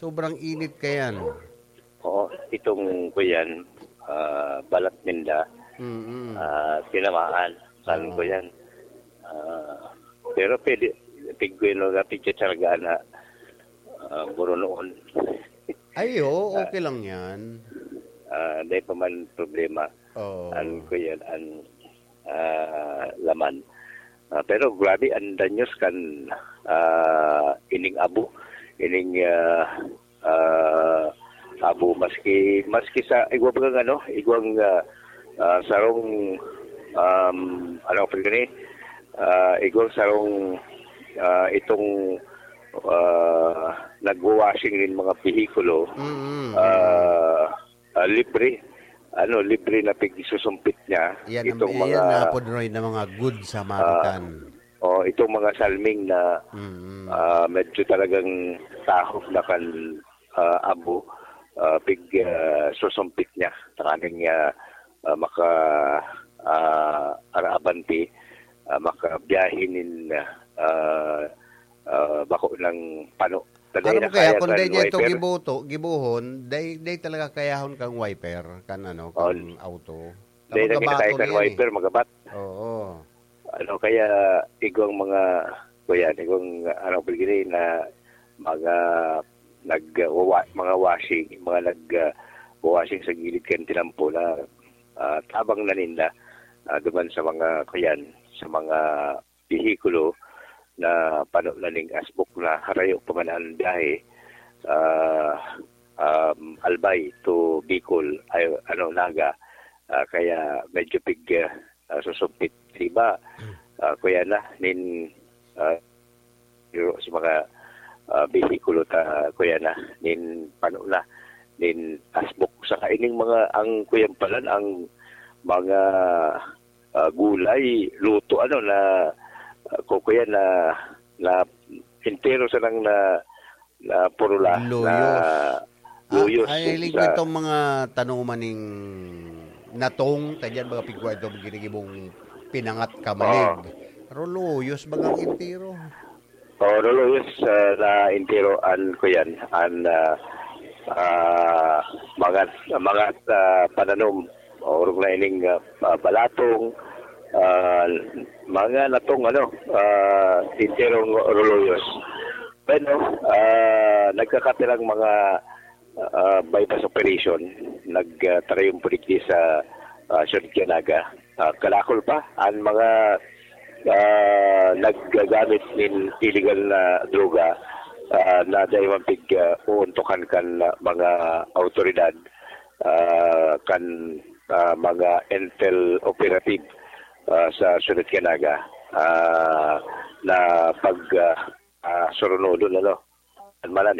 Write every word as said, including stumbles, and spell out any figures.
Sobrang init kayan. Oo, itong kuyan, ah, balat ninda, Mm. ah, tinamaan. Sabi Oo. ko yan. Ah, pero pwede, tigwin nga picture na ah, burunoon. Ay, oo, okay lang yan. Ah, dahil pa man problema. Oo. An kuyan, an ah, laman. Ah, pero grabe, ang danyos kan ah, ining abo. Ining ah, ah, abo, maski, maski sa, igwa bagang ano, igwang ah, ah, sarong, um, ano pa gani, ah, igwang sarong ah, itong ah, nagwa-washing nin mga behikulo, Mm. ah, ah, libre, ano, libre na pigsusumpit niya Yan ang, itong yan mga na po, Roy, na mga good Samaritan. o itong mga salming na Mm. ah, medyo talagang tahop na kan ah, abo, ah, pig ah, susumpit niya tanganing ah, ah, maka ah, araabante, ah, makabiyahe nin ah, ah, bako ng pano. Taday Ano na mo kaya kaya kung kan dahil niya ito wiper. Gibuto, gibuhon, dahil, dahil talaga kayahon kang wiper, kan ano, kang auto. Dahil na Magabato kinakaya kan na yan eh. Wiper, magabat. Oo. Ano kaya, igwang mga, kuya, igwang, ano, pilgiri na mga nag, uh, wa, mga washing, mga nag, uh, washing sa gilid kan tinampo na ah, tabang na ninda ah, duman sa mga, kuyan, sa mga behikulo na pano na ning asbok na harayo pa man ang biyahe, ah, um, Albay to Bicol, ay, ano, Naga. Ah, kaya medyo pig ah, susumpit sa iba. Ah, kuya na, nin ah, pero sa mga ah, behikulo ta, kuya na, nin pano na, nin asbok. Saka ining mga, ang kuyan palan, ang mga ah, gulay, luto, ano, na, ah, kukuya na, na entero sanang na, na purula, Luyos. na luyos. Ah, ay, hiling ko Sa- itong mga tanuman ning natong, kaya dyan mga pigwa ito, ginigibong pinangat kamalig. Pero luyos, bagang entero. Oh, luyos ah, na entero an kuyan, an ah, ah, mga, mga ah, pananom. Orog na ining ah, ah, balatong, ah, mga natong, ano, ah, enterong luyos. Bueno, ah, nagkakatirang mga ah, bypass operation, nagtarayong po digdi sa ah, Siyudad kan Naga. Ah, kalakol pa, ang mga ah, naggagamit nin illegal na droga, ah, na dai man pig ah, uuntukan kan ah, mga awtoridad, ah, kan ah, mga intel operative ah, sa Siyudad kan Naga, ah, na pag ah, ah, surunodon, ano, malan